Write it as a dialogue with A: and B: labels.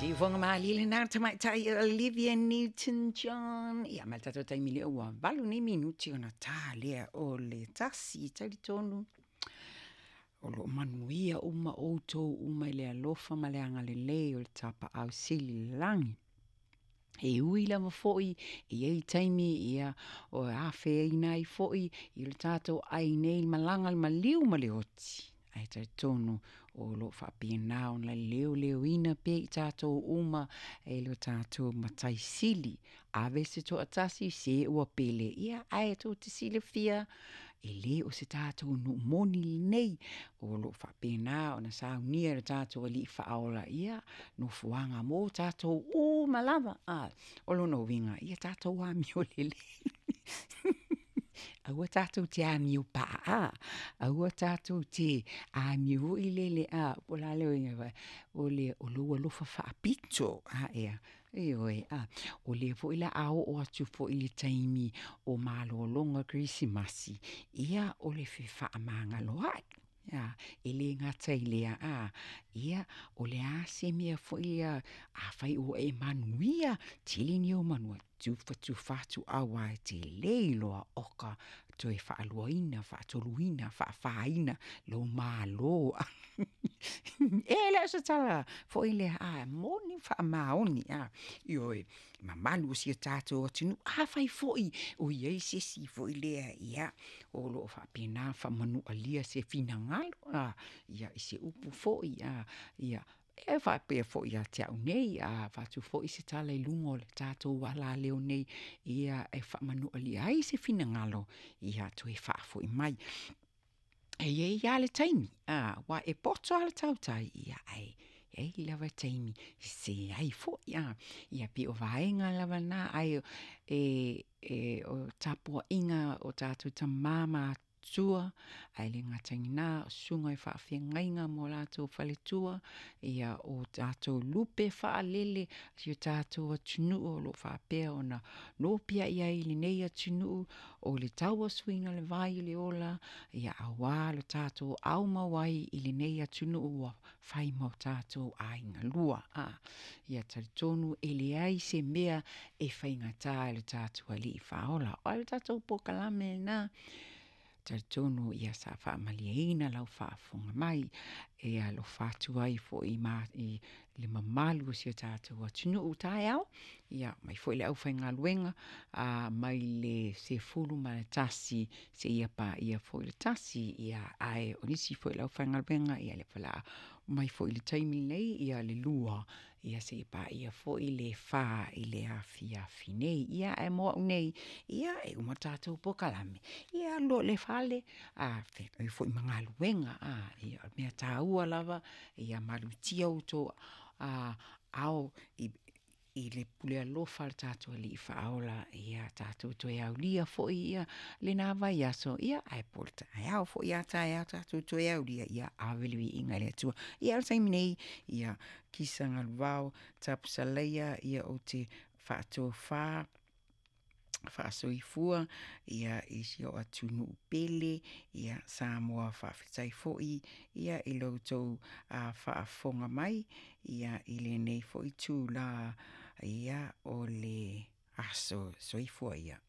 A: Siufoga malie lena tamaitai Olivia Newton-John. Ia, ma le tatou taimi lea ua 8 nei minuti ona ta lea o le 1. Talitonu o loo manuia uma outou uma i le alofa ma le agalelei o le Tapaau Sili i le lagi. E ui lava foi e i ai taimi ia o afeaina ai foi i le tatou ai nei malaga le maliu ma le oti, ae talitonu o loo faapena ona leoleoina pea i tatou uma e lo tatou Matai Sili. Ave se toatasi se ua pele, ia ae tou te silafia e le o se tatou nuu moni lenei, o loo faapena ona saunia e le tatou Alii Faaola ia nofoaga mo tatou uma lava. O lona uiga, ia tatou amio lelei aua tatou te amio paa, aua tatou te amio foi lele po o le a le uiga o le o lou alofa faapito. Ioe, o lea foi o le a oo atu foi i le taimi o malologa o Kerisimasi, ia o le fefaamagaloai. E le gata i lea, ia o le a se mea foi lea, afai ua e manuia, tele ni ou manuia, tufatufa atu aua e te le iloa o ka toe faaluaina, faatoluina, faafaina lou malo. E le o se tala foi lea, ae moni ma faamaoni. Ioe, mamalu o si o tatou atunuu, afai foi o i ai se isi foi lea, ia, o loo faapena faamanualia se finagalo ia i se upu foi, ia e faapea foi ia te au nei, a avatu foi se tala i luga o le tatou alaleo nei, ia e faamanualia ai se finagalo, ia toe faafoi mai. E i ai lava le taimi, aua e poto lava le tautai, ia ae i ai lava taimi e sese ai foi. Ia pei o vaega lava na, ae o tapuaiga a o tatou tama ma atua, ae le gata i lena o susuga i faafeagaiga ma o latou faletua, ia o tatou lupe faalele a si o tatou atunuu o lo o faapea ona nopiai ai i lenei atunuu, o le tauasuina o le vai o le ola, ia aua lo tatou aumau ai i lenei atunuu ua fai ma o tatou aiga lua. Ia talitonu e leai se mea e faigata i le tatou Alii Faaola. O le tatou polokalame lena, talitonu ia sa faamalieina lau faafofoga mai, e alofa atu ai foi ma i le mamalu o si o tatou atunuu taeao, ia mai foi le aufaigaluega mai le 11 seia paia foi le 1, ia ae o nisi foi o le aufaigaluega, ia lea foi o le a omai foi i le taimi lenei ia le 2, ia seia paia foi le 4 i le afiafi nei. Ia ae mo au nei, ia e uma le tatou polokalame, ia alu loa i le fale, feagai foi ma galuega. Ia o le mea taua lava, ia malutia outou aao i le pule alofa a le tatou Alii Faaola, ia tatou toe aulia foi ia lena vaiaso, ia ae po o le taeao foi a taeao tatou toe aulia, ia ave le viiga i le Atua. Ia o le taimi nei, ia Kisa Galuvao Tapusaleia, ia ou te faatofa faasoifua ia i si o atunuu pele, ia Samoa. Faafetai foi ia i lo outou faafofoga mai ia i lenei foi itula ia o le aso. Soifua ia.